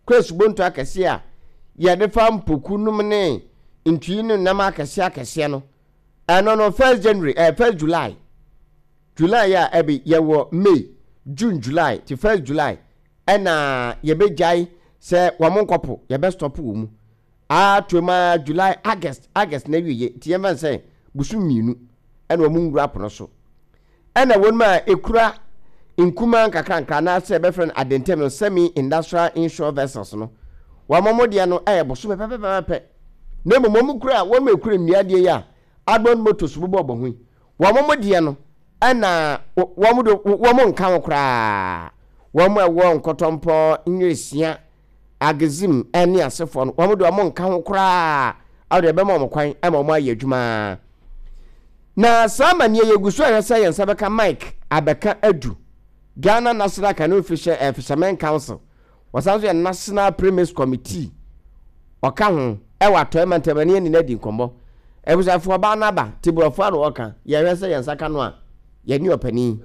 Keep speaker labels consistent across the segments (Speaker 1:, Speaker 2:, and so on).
Speaker 1: kɔ asubonto akɛseɛ a yɛde fa mpoku nom ne ntui ne nam akɛseɛ akɛseɛ no, ɛno no first January, eh, first July, July a ɛbi yɛwɔ May, June, July, ti first July ɛna yɛbɛgyae sɛ wɔn nkɔpo, yɛbɛ stop wɔ mu. Ato mu ara July, August, August na awieɛ, nti yɛmfa no sɛ bosom mmienu ɛna wɔn nwura pono so. Ɛna wɔn a ɛkura nkumaa nkakrankra anaasɛ yɛbɛfrɛ no adentam no semi-industrial inshore vessels no, wɔn wɔn deɛ no ɛyɛ bosome pɛpɛpɛpɛ. Na mmom wɔn kura wɔn a ɛkura nnua adeɛ yi a Admond Motors bobɔ bɔ ho yi, wɔn wɔn deɛ no ɛna wɔn de wɔn nka ho koraa. Wɔn a ɛwɔ Nkɔtɔmpɔ, Nweresia, Agezim ne asefoɔ no, wɔn deɛ wɔn nka ho koraa, awo deɛ ɛbɛma wɔn kwan ma wɔn ayɛ adwuma. Na saa amaneɛ yɛ gu so ahwɛ sɛ yɛn nsa bɛka Mike abɛka adu Ghana National Canoe Fisher, eh, Fishermen Council. Wɔsan nso yɛ National Premise Committee. Ɔka ho ɛwɔ atɔe mantam ɛne yɛn nyinaa di nkɔmmɔ. Abusuafoɔ ɔbaa no aba, te borɔfo ano ɔka, yɛhwɛ sɛ yɛn nsa ka no a, yɛne ɔpanin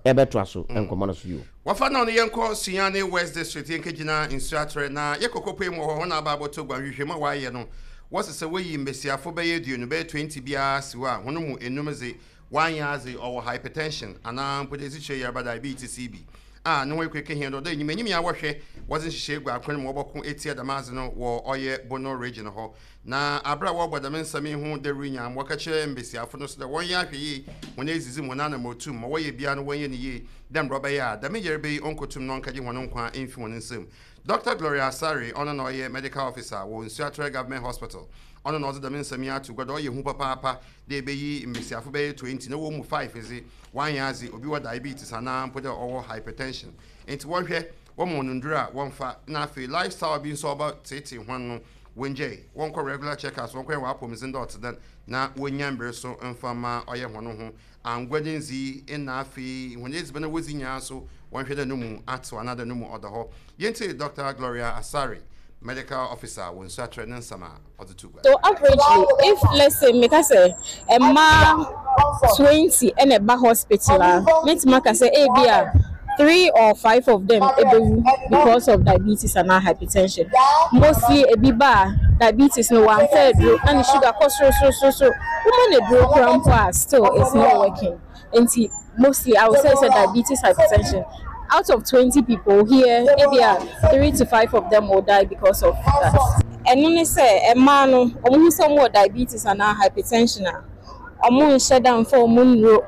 Speaker 1: ɛbɛtoa so nkɔmmɔ no so bio.
Speaker 2: Wɔfa no no yɛnkɔ Sunyani West District yɛnkɛgyina Nsuaterɛ na yɛkɔ kɔpue mu wɔ hɔ hɔn aba abɔtɔ gua nhwehwɛmu a wɔayɛ no wɔse sɛ woyi mbasiafo bɛyɛ eduonu bɛyɛ 20 biara si hɔ a hɔn mu enum dze wɔannyɛ adze ɔwɔ hypertension anaa mpo dɛ esikyire yarba diabetes yi bi a no ho ekue kehia dɛ ɔdɔ enyim enyim yi a wɔhwɛ wɔdze nhyehyɛɛ gu akwan mu wɔbɔko etsia dɛm adze no wɔ ɔyɛ Bono region hɔ. Na aber a wɔrobɔ dɛm nsɛm yi ho dawur nyina, ma wɔkã kyerɛ mbasiafo no so dɛ wɔnyɛ ahwɛyie hɔn edzidzi mu, hɔn anamɔtu mu, ma wɔyɛ biara no wɔnyɛ no yie, dɛ mbrɛ ɔbɛyɛ a dɛm yarba yi onnkotum na ɔnnkɛgye hɔn nkwa mmfi hɔn nsamu. Dɔkta Gloria Asare, ɔno na ɔyɛ Medical Officer wɔ Nsuaterɛ Government Hospital, ɔno na ɔdze dɛm nsɛm yi ato gua dɛ ɔyɛ hu papaapa dɛ ebeyi mbasiafo bɛyɛ 20 na hɔn mu five dze wɔannyɛ adze, obi wɔ diabetes anaa mpo dɛ ɔwɔ hypertension ntsi wɔnhwɛ wɔma hɔn ndur a wɔmfa na afei lifestyle bi so a ɔbɛtseetsee hɔn no Wongyae, wɔnkɔ regular check-ups, wɔnkɔyɛ hɔn apɔwmudzen dɛ ɔtse dɛn, na wonnya mber so mfa mma ɔyɛ hɔn ho angua ne ndzii nna afei hɔn edziban a wodzi nyina so wɔnhwɛ dɛ no mu atsew anaadɛ no mu ɔda hɔ. Yentsie Dɔkta Gloria Asare, Medical Officer wɔ Nsuatrɛ ne nsɛm a ɔdze too gua.
Speaker 3: So averagely if let's say meka sɛ mmaa 20 na ɛba hospital a, mɛtumi aka sɛ ebi a three or five of them ɛbɛwu because of diabetes anaa hypertension. Mostly ebi ba a diabetes no wamfa aduro na ne sugar kɔ soro soro soro soro. Woma no aduro koraa mpo a still it's not working. Nti mostly I would say sɛ diabetes hypertension out of 20 people here ebi a three to five of them will die because of that. Ɛno ne sɛ mmaa no wɔn hu sɛ wɔn wɔ diabetes anaa hypertension a wɔn nhyɛ da nfa wɔn nnuro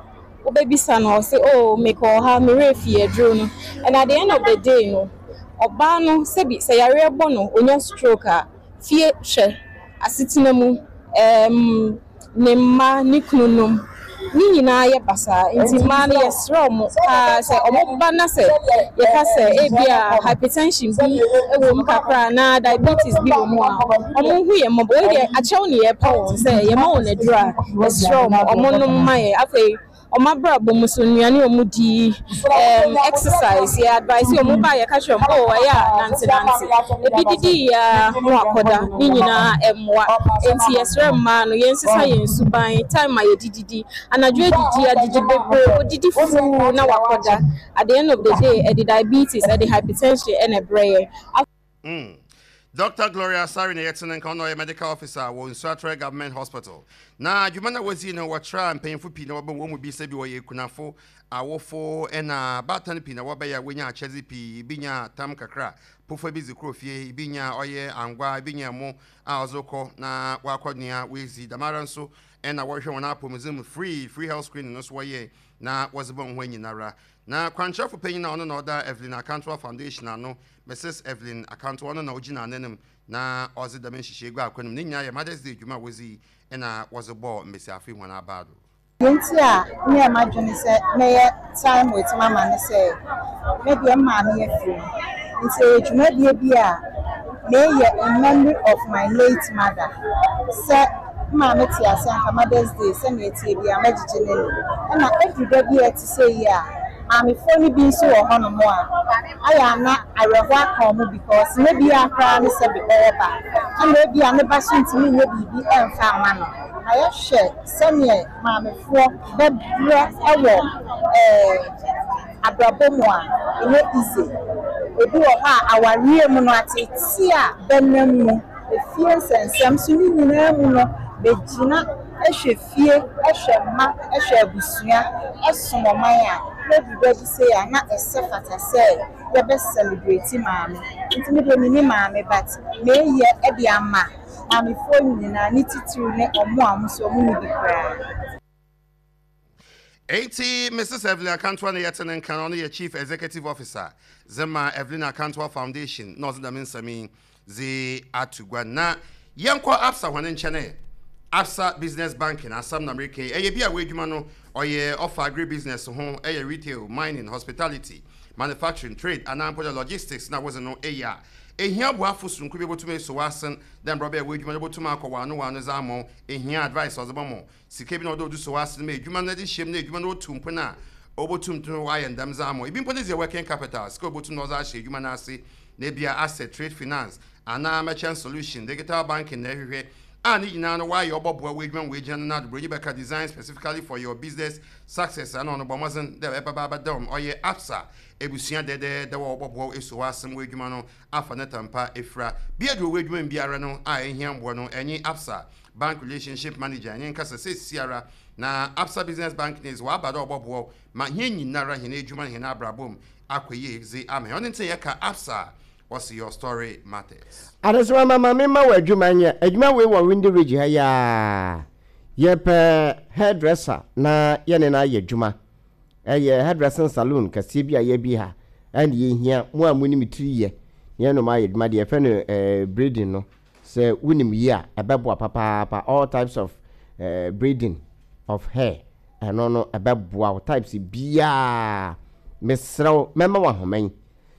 Speaker 3: wobɛbisa no ɔse oh mekɔɔ ha me werɛ fii aduro no and at the end of the day no ɔbaa no sɛbi sɛ yareɛ bɔ no ɔnya stroke a fie hwɛ asetena mu ɛɛm ne mma, ne kununom, ne nyinaa yɛ basaa. Nti mmaa no yɛsrɛ wɔn paa sɛ wɔba na sɛ yɛka sɛ ebia hypertension bi wɔ mu kakra anaa diabetes bi wɔ mu a, wɔnhu yɛn mmɔbɔ. Wei deɛ akyɛw ne yɛrepa wɔn sɛ yɛma wɔn aduro a, yɛsrɛ wɔn wɔnnom mma yɛn. Afei Wɔn abrabɔ mu so, nnuane a wɔdi, ɛɛm exercise, yɛ advice wɔn ba a yɛka kyerɛ wɔn, oh ɛyɛ a nante nante. Ebi didi yie ara na wakɔda, ne nyinaa ɛmmoa. Enti yɛsrɛ mmaa no yɛnsesa yɛn suban, time a yɛde didi, anadwo adidi, adidi bebree, odidi fuu na wakɔda. At the end of the day, ɛde diabetes, ɛde hypertension ɛna ɛbrɛ yɛn.
Speaker 2: Mm. Dɔkta Gloria Asare na yɛtse ne nka, ɔno ɔyɛ Medical Officer wɔ Nsuatrɛ Government Hospital. Na dwuma no a wodzii no, wɔtraa mpanyimfo pii na wɔbɔɔ hɔn mu bi sɛ bi wɔyɛ ekunafo, awofo na abaatan pii na wɔbae a wonyaa akyɛdze pii, bi nyaa tam kakra, pofa bi dze kɔɔ fie, bi nyaa ɔyɛ angua, bi nyaa mo a ɔdze rokɔ na ɔakɔnoa oedzi. Dɛmara so na wɔhwehwɛ hɔn apɔwmudzen mu free, free health screening no so wɔyɛe na wɔdze bɔɔ hɔn nyinara. Na kwankyerɛfo panyin a ɔno na ɔda Evelyn Akantoa Foundation ano, Mrs Evelyn Akantoa, ɔno na ogyina ananmu na ɔdze dɛm nhyehyɛɛ yi gu akwan mu. Ne nyina yɛ Mother's Day dwuma a wodzii na wɔdze bɔɔ mbasiafo yi hɔn abaa do.
Speaker 4: Deɛ nti a meyɛɛ m'adwene sɛ mɛyɛ Time with Mama ne sɛ, me deɛ me maame afiri mu, nti ɛyɛ dwumadie bi a meyɛ in memory of my late mother. Sɛ me maame te ase a anka Mother's Day sɛdeɛ ɛteɛ biara mɛgyegye n'ani. Ɛna ɛduru da bi a ɛte sɛ yi a, maamefoɔ no bi nso wɔ hɔnom a, ayɛ a na awerɛhoɔ aka wɔn because ne bia koraa ne sɛbe ɔwɔ ba, ɛna ebia ne ba so ntumi nyɛ biribi mfa mma no. Na yɛhwɛ sɛdeɛ maamefoɔ bɛbrɛ wɔ ɛɛ abrabɔ mu a, ɛnyɛ easy. Ebi wɔ hɔ a awareɛ mu no ateetee a bɛnam mu, efie nsɛnsɛm so ne nyinaa mu no bɛgyina hwɛ fie, hwɛ mma, hwɛ abusua, som ɔman a, na ɛduru da bi sei a na ɛsɛ fata sɛ yɛbɛ celebrate maame. Nti me deɛ menni maame but meyɛ de ama maamefoɔ nyinaa ne titiriw ne ɔmo a ɔmo nso ɔmo nni bi koraa.
Speaker 2: Enti Mrs Evelyn Akantoa na yɛtse ne nka no, ɔno yɛ Chief Executive Officer dze ma Evelyn Akantoa Foundation na ɔdze dɛm nsɛm yi dze ato gua. Na yɛnkɔ Absa hɔn nkyɛn ɛ. Absa Business Banking asɛm na mereka yi, ɛyɛ bi a w'edwuma no ɔyɛ ɔfa agribusiness ho, ɛyɛ retail, mining, hospitality, manufacturing, trade anaa mpo dɛ logistics na wodze no eyɛ a, ehia boafo soronko bi obotum eso w'asen dɛ mbrɛ ɔbɛyɛ w'edwuma no botum akɔ wɔano wɔano dze ama wo, ehia advice a ɔdze bɔma wo, Sika bi na ɔdɛ ɔdze sɔ w'asen ma edwuma no dze hyɛ mu na edwuma no otu mpon a, obotum dze ɔayɛ ndɛm dze ama wo. Bi mpo ne dze yɛ working capital, sika a obotum na ɔdze ahyɛ edwuma no ase, na ebia asset, trade finance, anaa merchant solution, digital banking na ehwehwɛ a ne nyina no wɔayɛ ɔbɔboa w'edwuma ma oegyina ne nan do. Bronyi bɛka design specifically for your business success ana ɔno bɔ mbɔdzen dɛ ebɛba abɛda mu. Ɔyɛ Absa ebusua dɛdɛɛdɛw a ɔbɔboa wo esuo w'asen w'edwuma no afa ne tampa efura. Bia do wɔ w'edwuma mu biara no a ehia mboa no, enye Absa Bank Relationship Manager nye nkasa seseiara na Absa Business Bank ne dze ɔaba dɛ ɔbɔboa wo ma hɛn nyinara hɛn edwuma na hɛn abrabɔ mu akɔ yie dze ama hɛn. Ɔno ntsi na yɛka Absa a, wɔse Your Story Matters.
Speaker 1: Adesoma mama me ma wo adwuma nyɛ. Adwuma wei wɔ Windy Ridge ha yi ara. Yɛpɛ hairdresser na yɛne no ayɛ adwuma. Ɛyɛ hairdressing saloon kɛseɛ bi a yɛabue ha ɛna yɛhia mo a monim tiri yɛ na yɛne mo ayɛ adwuma. Deɛ yɛfrɛ no braiding no Sɛ wonim yi a, ɛbɛboa papaapa. All types of braiding of hair, ɛno no ɛbɛboa wo types biara. Mesrɛ wo, mɛma wo ahoma yi.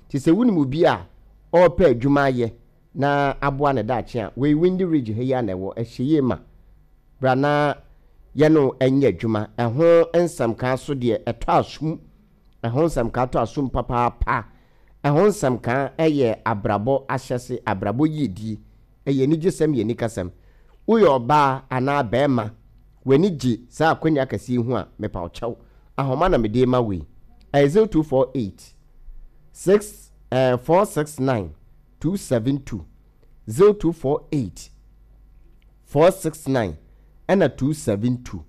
Speaker 1: Nti sɛ wonim obi a ɔrepɛ adwuma ayɛ na aboa ne daakye a, wei Windy Ridge ha yi ara na ɛwɔ, ɛhyɛ yie ma. Bra na yɛne wo nyɛ adwuma. Ɛho nsɛmkaa so deɛ, ɛtɔ asom. Ɛho nsɛmkaa tɔ asom papaapa. Ɛho nsɛmka yɛ abrabɔ ahyɛse, abrabɔ yiedie. Ɛyɛ anigyesɛm yɛ anikasɛm. Woyɛ ɔbaa anaa barima, w'ani gye saa akwanya kɛseɛ yi ho a, mepa wo kyɛw. Ahoma na mede rema wo yi. Ɛyɛ 0248 6 eh, 469 272. 0248 469 ɛna 272.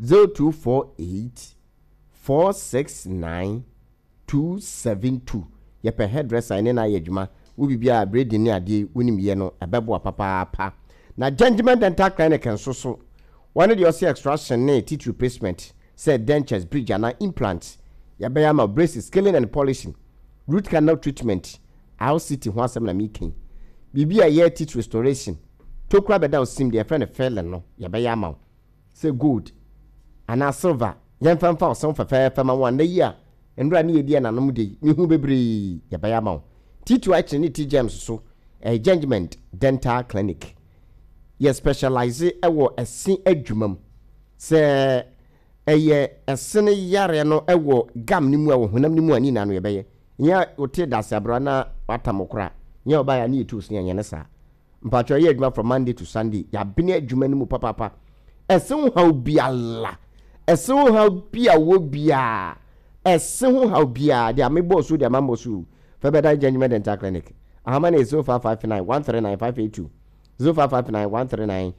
Speaker 1: 0248 469 272 yɛpɛ hairdresser yɛne no ayɛ adwuma wo biribiara a braiding ne adeɛ yi wonim yɛ no ɛbɛboa papaapa na Gentleman Dental Clinic nso so wɔne deɛ ɔse extraction ne teeth replacement sɛ dentures bridge anaa implants yɛbɛyɛ ama wo braces scaling and polishing root canal treatment RCT ho asɛm na meka yi biribi a ɛyɛ teeth restoration tokura bɛda wo sim deɛ yɛfrɛ no filling no yɛbɛyɛ ama wo sɛ gold anaa silver yɛmfa mfa ɔsɛw fɛfɛɛfɛ ma wo a, nnɛ yi a nnora ne yɛdi ɛnanom de yi, mehu bebree yɛbɛyɛ ama wo. T2 Akyere ne T-Germs so ɛyɛ Gengement Dental Clinic. Yɛ specialise wɔ ɛse adwuma mu. Sɛ ɛyɛ ɛse no yareɛ no wɔ gum no mu a, wɔ honam no mu a, ne nyinaa no yɛbɛyɛ. Nyɛ wote dase abrewa na watam wo koraa. Nyɛ ɔbaeɛ a ne yɛtu wo se, yɛnyɛ ne saa. Mpakyɛw yɛyɛ adwuma from Monday to Sunday yɛabene adwuma no mu papaapa ɛse ho haw biala ɛse ho haw bi a wɔ biara ɛse ho haw biara deɛ mebɔɔ so deɛ mammɔ so fɛ bɛda Gentleman Dental Clinic ahoma no yɛ 0559 139 582 0559 139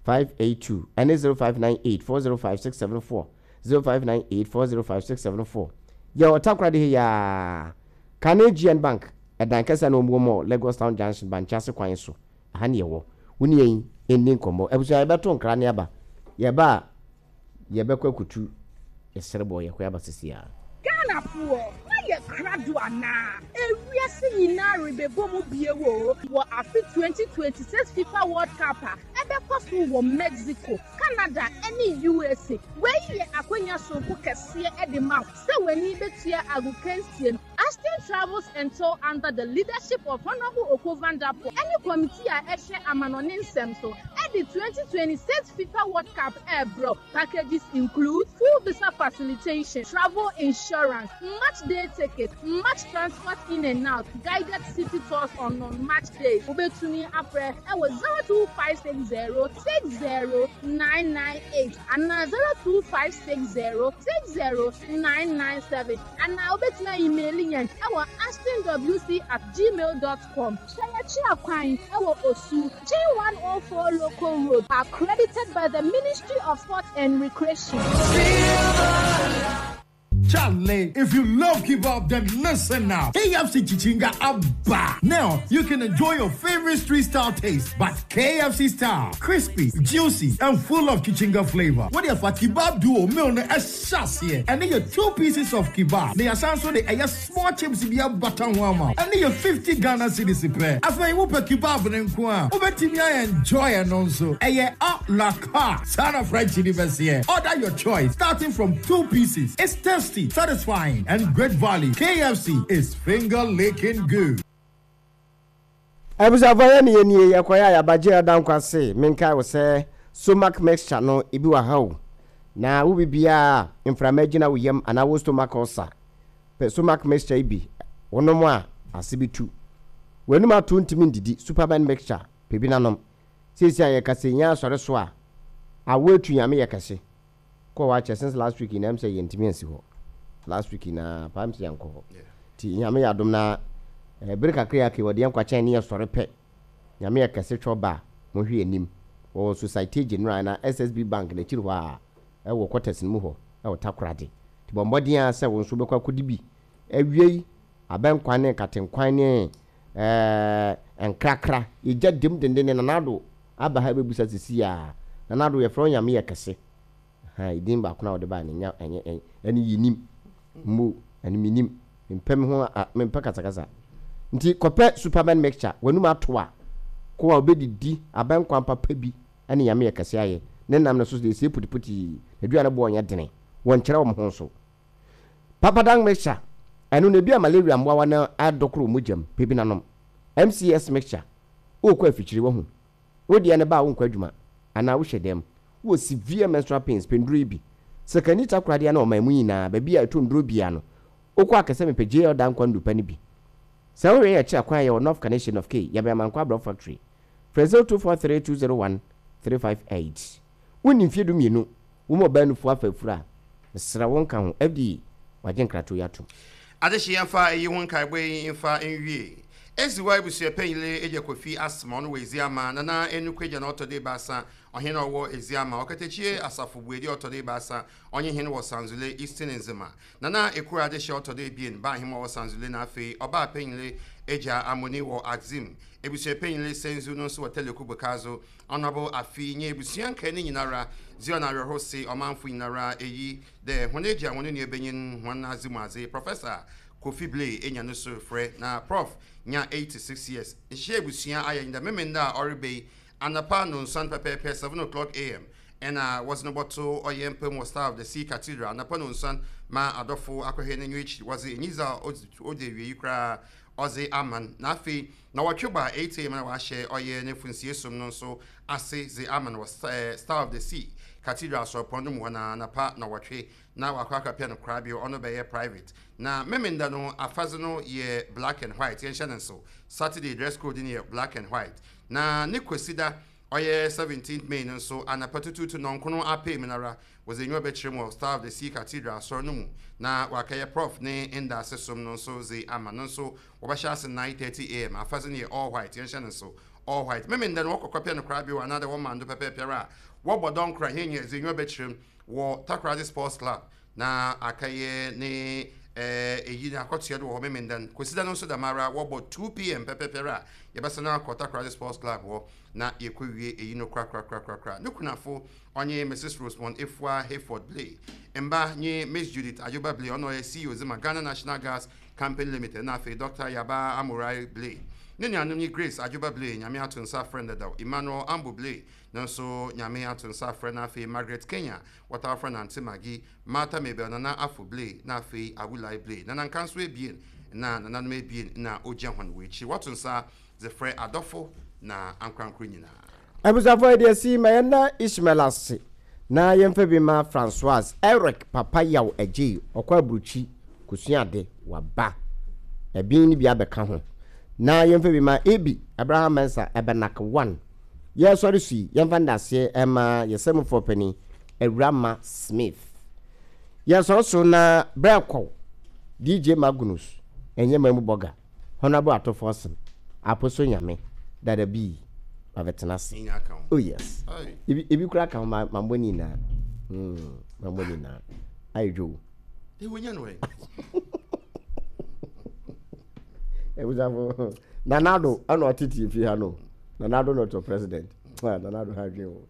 Speaker 1: 582 ɛne 0598 405 674 0598 405 674 yɛ ɔtakoradi he yaa Kane GN Bank Ɛdan kɛse a na wɔwɔ mu wɔ Lagos Town Junction, Bankye-Ase kwan so. Ɛha ne yɛwɔ. Wo ne yɛn nni nkɔmmɔ. Abusua, yɛbɛto nkra ne aba. Yɛba a, yɛbɛkɔ akutu yɛsrɛbɔ, yɛkɔ aba sisi ara.
Speaker 5: Ghanafoɔ, moayɛ krado anaa? Ewiase nyinaa rebɛbɔ mu bio oo wɔ afe 2026 FIFA World Cup a ɛbɛkɔ so wɔ Mexico, Canada ne USA. Wei yɛ akwanya soronko kɛseɛ de ma wo sɛ w'ani bɛtua agokansie no. Ashton Travels and Tour under the leadership of Honourable Oko Vanderpoel ne Committee a ɛhwɛ amanɔne nsɛm so de 2026 FIFA World Cup rebrɛ wo. Packages include full visa facilitation, travel insurance, match day ticket, match transport in and out, guided city tours on non-match days. Wobɛtumi afrɛ wɔ 02560 60998 anaa 02560 60997 anaa wobɛtumi a-emaili yɛn. yɛn wɔ ashtonwc at gmail dot com. Hwɛ yɛkyerɛ kwan wɔ Osu, G104 Local Road, accredited by the Ministry of Sports and Recreation.
Speaker 6: Charlie, if you love kebab, then listen now. KFC Chichinga Abba. Now you can enjoy your favorite street style taste, but KFC style, crispy, juicy, and full of chichinga flavor. What if a kebab duo meal no here? And then your two pieces of kebab. They are so the a small chips be a butter warmer. And then your 50 Ghana cedis pair. After you put kebab and kwa, obetimi enjoy and also. A la carte. Son of French University. Order your choice, starting from two pieces. It's tasty, satisfying, and great value. KFC is finger licking good.
Speaker 1: Abusuafoɔ yɛ ne yɛ nie yɛkɔyɛ a yɛabagye ɛda nkwa se menkae wo sɛ stomach mixture no ebi wɔ ha o na wo bibiaa mframa agyina wo yam anaa wo stomach ulcer pɛ stomach mixture yi bi wonom a ase bi tu w'anum ato ntumi ndidi superman mixture pɛ bi na nom seesei a yɛkasa yi yɛn asɔre so a awo atu nyame yɛ kɛse kɔ hɔ akyɛ since last week nyinaa ɛm sɛ yɛntumi ansi hɔ last week nyinaa paa ɛm sɛ yɛnkɔ hɔ nti nyame yɛ adom na eh, bere kakra yi aka wɔde yɛn kwakyɛn ne yɛsɔre pɛ nyame yɛ kɛse twɛ ɔba a mohwɛ yɛn anim wɔwɔ Societe Generale na SSB bank n'akyiri hɔ a ɛwɔ quarters no mu hɔ ɛwɔ Takoradi nti bɔ mmɔden ara sɛ wo nso wobɛkɔ akɔdi bi awiei abɛnkwan ne nkatenkwan ne ɛɛ nkrakra yɛgya dem dendenne Nana Addo aba ha bɛbusa sisi a Nana Addo yɛfrɛ wo Nyame yɛ kɛse ahaa edin baako no a wode bae no nya ɛnyɛ ɛn ɛne yɛnim mmo ɛne menim mempɛ me ho a mempɛ kasakasa nti kɔpɛ superman mixture w'anum ato a ko a wobɛdidi abɛnkwan papa bi ɛne Nyame yɛ kɛse ayɛ ne nam no so deɛ ɛsie putiputi n'aduane boɔ nyɛ dene wɔnkyerɛ wɔn ho nso Papadang mixture ɛno no ebi a malaria mmoawa no adɔkoro mogya mu pɛ bi na nom MCS mixture Worekɔ afikyiri, wahu. Wo deɛ no ba a wonkɔ adwuma anaa wohyɛ dɛm. Wowɔ severe menstrual pains, pɛ nnuro yi bi. Sakani takoradi ana ɔman mu nyinaa, baabi a ɛtɔ nnuro biara no, wokɔ a kɛsɛ mepɛ JL Dankwa nnuru pa no bi. Sɛ wohwɛ yɛn akyiri akwan a yɛwɔ North Kaneshie, North K, yɛbɛn Amankwa Abrɔfo Factory. Frɛ 0243 201 358. Wonni mfeɛ 12, wo ma ɔbaa nufoɔ afa afuru a, mesrɛ wo nka ho. FDA wagye nkratoɔ yi atom.
Speaker 2: Adehye yɛmfa eyi ho nkaebɔ yi mfa nwie. Edziwa ebusuapanyile Agya Kofi Asma ɔno wɔ Edziama, Nana Enuku Agya na ɔtɔ do ebiasa, ɔhen a ɔwɔ Edziama, Ɔkatakyie Asafo Buedi ɔtɔ do ebiasa, ɔnye hen wɔ Sanzule, Eastern Nzema, Nana Ekura Adehye ɔtɔ do ebien, Baahema ɔwɔ Sanzule na afei Ɔbaa Panyile Agya Amoni wɔ Axim, Ebusuapanyile Senzu no nso wɔ Teleku Bokazo, Honourable Afi nye ebusua nkaa no nyinara dze ɔno awerɛhow se ɔmanfo nyinara eyi dɛ hɔn egya hɔn nuabanyin hɔn adze mu adze Professor Kofi Blay enya no sor frɛ na Prof nya 86 years nhyehyɛɛ ebusua ayɛ nye dɛ Memenda a ɔreba yi anapa nonsuan pɛpɛɛpɛ 7:00 am na wɔdze no bɔto ɔyɛ mpa mu wɔ Star of the Sea Cathedral anapa nonsuan ma adɔfo akɔhwɛ n'enyiwa ekyir wɔdze enyidzi a odzi ewiei koraa ɔdze ama no na afei Nawɔtwe ba a 8 am na wɔahyɛ ɔyɛ n'efunsie som no nso ase dze ama no wɔ Star of the Sea Cathedral Asɔrpɔn no mu hɔ no ara anapa nawɔtwe na wɔakɔ akɛpɛ no korabea ɔno bɛyɛ private na Memenda no afadze no yɛ black and white yɛnhyɛ no nsew Saturday dress code no yɛ black and white na ne Kwesida ɔyɛ 17th May no nso anapa tutuutu nɔnkono apee mu no ara wɔdze enyiwa bɛkyerɛ mu wɔ Star of the Sea Cathedral Asɔr no mu na wɔakɛyɛ Prof ne ndaase som no nso dze ama no nso Wɔbɛhyɛ ase 9:30 am. Afadze no yɛ all white, yɛnhyɛ no nsew, all white. Memenda no wɔkɔ kɔpɛ no korabea o anaadɛ wɔma ndo pɛpɛɛpɛr a, wɔbɔ dɔnkor a hɛn nyina dze enyiwa bɛkyerɛ mu wɔ Takoradi Sports Club na akɛyɛ ne eyi no akɔtoa do wɔ hɔ Memenda no. Kwesida no so dɛmara wɔbɔ 2 pm pɛpɛɛpɛr a, yɛbɛsan akɔ Takoradi Sports Club hɔ na yekowie eyi no korakorakorakora. No kunafo ɔnye Mrs Rosemond Efua Hayford Blay, mba nye Miss Judith Ayoba Blay, ɔno ɔyɛ CEO dze ma Ghana National Gas Company Limited na afei Dɔkta Yabaa Amorai Blay. Ne nuanom nye Grace Adwoba Blay, Nyame ato nsa afrɛ no dadaw, Emmanuel Ambo Blay, no nso Nyame ato nsa afrɛ no, afei Margaret Kenya, wɔtaa frɛ no Aunty Maggie, Martha Mabel Nana Afo Blay, na afei Awulai Blay. Nananka nso ebien na nananom ebien na ogyia hɔn wɔ ekyir. Wɔto nsa dze frɛ adɔfo na ankorankor nyina.
Speaker 1: Abusuafoɔ yɛde asi ma yɛnda Ishmael ase na yɛmfa bi ma Francoise Eric Papa Yaw Agyei ɔkɔ aburukyi kosua ade waba ɛbin no bi abɛka ho na yɛmfa bi ma Ebi Abraham Mensah Ɛbɛnak one yɛsɔre so yi yɛmfa ndaseɛ ɛma yɛsɛmufoɔ panin Awurama Smith yɛsɔre so na berɛ kɔw DJ Magnus. Ɛnyɛ mamu bɔga, Honourable Ato Forson, Aposo Nyame, Dada B, mabɛtena ase. Oh yes. Ebi ebi koraa ka ho ma mambɔ ne nyinaa. Mm, mambɔ ne nyinaa. Ayɛ dwow.
Speaker 2: Ewonya no ɛ.
Speaker 1: Ebusafo, Nanado ɛna ɔtete efi ha no. Nanado na ɔtɔ president. Nanado ha adwene o.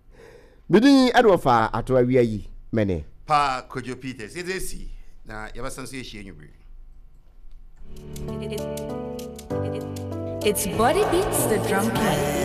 Speaker 1: Me din ɛde wɔfa ato awia yi mɛne.
Speaker 2: Pa Kojo Peters, yɛdze esi na yɛbɛsan so yɛahyia anwummere.
Speaker 7: It's Body Beats the Drum King.